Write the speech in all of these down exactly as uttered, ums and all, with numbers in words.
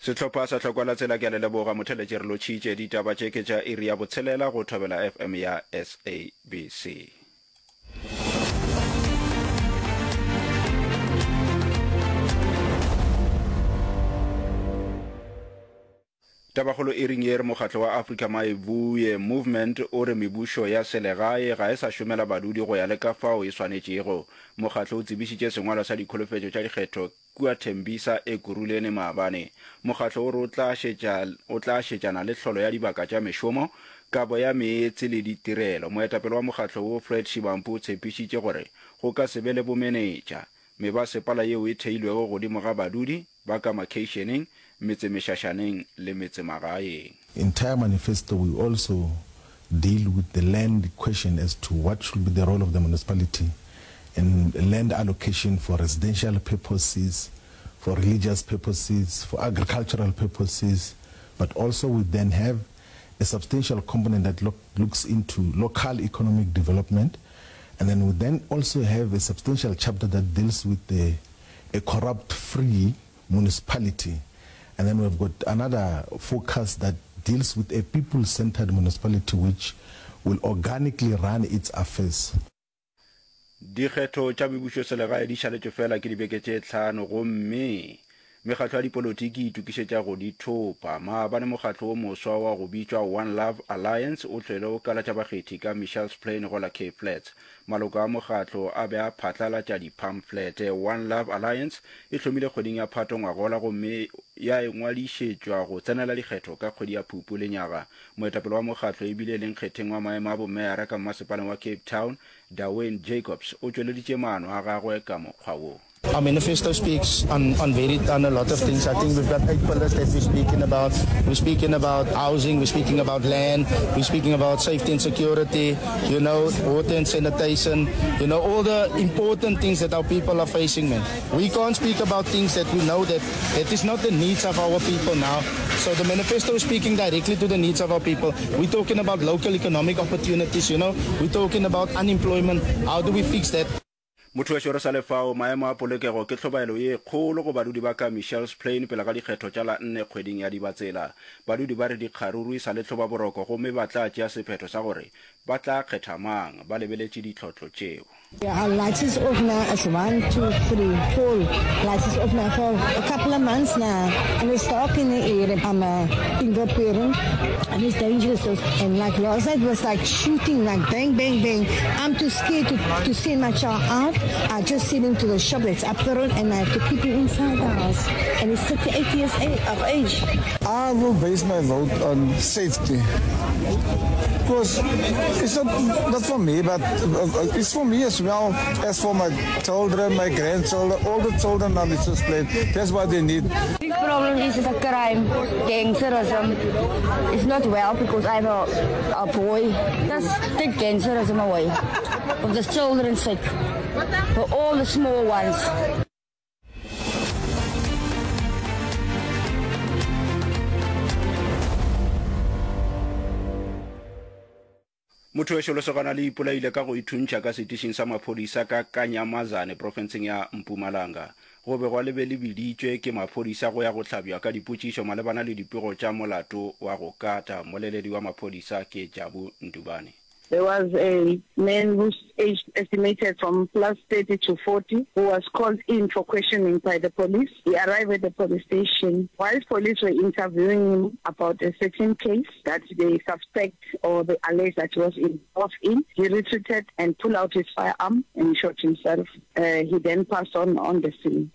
Sehlopha sa Hlokwa la Tsela ke a le leboga motheletši re lotšhitše. Ditaba tše ke tša iri ya botshelela go Thobela F M ya S A B C. Tabakgolo iring ye re mokgatlo wa Africa Mayibuye Movement o re mebušo ya selegae ga e sa šomela badudi go ya le ka fao e swanetšego. Mokgatlo o tsebišitše sengwalwa sa dikholofetšo tša dikgetho kua Tembisa, Ekurhuleni maabane. Mokgatlo o re o tla šetša o tla šetšana le hlolo ya dibaka tša mešomo, kabo ya meetse le ditirelo. Moetapele wa mokgatlo wo Fred Shibampu o tshepišitše gore go ka se be le bomenetša. Mebasepala yeo e theilwego godimo ga badudi ba ka makheišeneng, metsemešašaneng le metsemagaeng. Entire manifesto we also deal with the land question as to what should be the role of the municipality in land allocation for residential purposes, for religious purposes, for agricultural purposes, but also we then have a substantial component that lo looks into local economic development, and then we then also have a substantial chapter that deals with the, a corrupt-free municipality. And then we've got another focus that deals with a people-centered municipality which will organically run its affairs. Dikgetho tša mebušoselegae di šaletšwe fela ke dibeke tše hlano gomme mekgatlo ya dipolotiki e itokišetša go di thopa. Maabane mokgatlo wo moswa wa go bitšwa One Love Alliance o hlwele o kalatša bakgethi ka Mitchells Plain go la Cape Flats. Maloko a mokgatlo a be a phatlalatša diphamflete. One Love Alliance e hlomile kgweding ya Phato ngwagola gomme ya ingwadišetšwa go tsenela dikgetho ka kgwedi ya Phupu lenyaga. Moetapele wa mokgatlo e bile e le nkgetheng wa maemo a bomeyara ka mmasepaleng wa Cape Town, Dewayne Jacobs, o tšweleditše maano a gagwe ka mokgwa wo. Our manifesto speaks on, on very on a lot of things. I think we've got eight pillars that we're speaking about. We're speaking about housing, we're speaking about land, we're speaking about safety and security, you know, water and sanitation, you know, all the important things that our people are facing, man. We can't speak about things that we know that that is not the needs of our people now. So the manifesto is speaking directly to the needs of our people. We're talking about local economic opportunities, you know. We're talking about unemployment. How do we fix that? Motho wešo re sa le fao, maemo a polokego ke hlobaelo ye kgolo go badudi ba ka Mitchells Plain pele ga dikgetho tša la nne kgweding ya Dibatsela. Badudi ba re dikgaruru e sa le hlobaboroko gomme ba tla tšea sephetho sa gore ba tla kgetha mang ba lebeletše ditlhotlo tšeo. Our lights is off now. It's one, two, three, four lights is off now for a couple of months now. And it's dark in the area. I'm a single parent and it's dangerous. And like last night was like shooting, like bang, bang, bang. I'm too scared to, to send my child out. I just send him to the shop that's up the road and I have to keep him inside the house. And he's thirty-eight years of age. I will base my vote on safety. Because it's not, not for me, but it's for me as well as for my children, my grandchildren, all the children on this planet. That's what they need. Big problem is the crime, gangsterism. It's not well because I have a, a boy. Just take gangsterism away. For the children's sake. For all the small ones. Motho wešo lesogana le ipolaile ka go ithuntšha ka setišing sa maphodisa ka Kanyamazane profenseng ya Mpumalanga. Go begwa le be le biditšwe ke maphodisa go ya go hlabja ka dipotšišo malebana le dipego tša molato wa go kata. Mmoleledi wa maphodisa ke Jabu Ndubane. There was a man whose age estimated from plus thirty to forty who was called in for questioning by the police. He arrived at the police station. Whilst police were interviewing him about a certain case that they suspect or they allege that he was involved in, he retreated and pulled out his firearm and shot himself. Uh, he then passed on on the scene.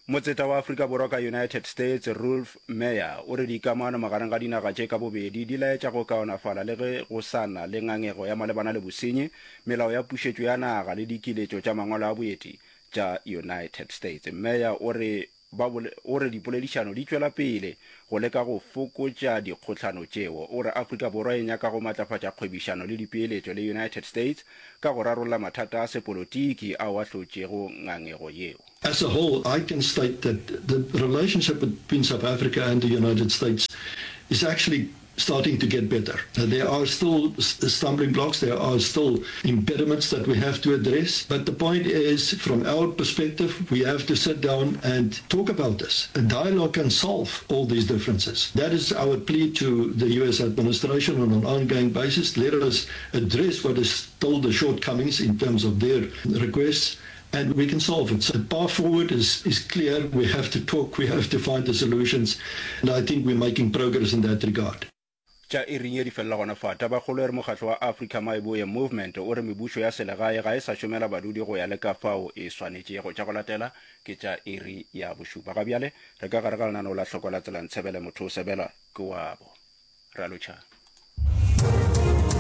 Motseta wa Afrika Borwa ka United States, Roelf Meyer, o re dikamano magareng ga dinaga tše ka bobedi di laetša go kaonafala le ge go sa na le ngangego ya malebana le bosenyi, melao ya pušetšo ya naga le dikiletšo tša mangwalo a boeti tša United States. Meyer o re ba o re dipoledišano di tšwela pele go leka go fokotša dikgohlano tšeo. O re Afrika Borwa e nyaka go matlafatša kgwebišano le dipeeletšo le United States ka go rarolla mathata a sepolotiki ao a hlotšego ngangego yeo. As a whole, I can state that the relationship between South Africa and the United States is actually starting to get better. There are still stumbling blocks, there are still impediments that we have to address, but the point is, from our perspective, we have to sit down and talk about this. A dialogue can solve all these differences. That is our plea to the U S administration on an ongoing basis. Let us address what is still the shortcomings in terms of their requests, and we can solve it. So the path forward is, is clear. We have to talk, we have to find the solutions, and I think we're making progress in that regard. Tša iring ye di felela gona fa. Tabakgolo e re mokgatlo wa Africa Maeboye Movement o re mebušo ya selegae ga e sa šomela badudi go ya le ka fao e swanetšego. Tša go latela ke tša iri ya bošupa. Ga bjale re ka gare ga lenaneo la Hloko la Tsela Ntshebele Motho o sebelwa ke wabo. Re a lotšha.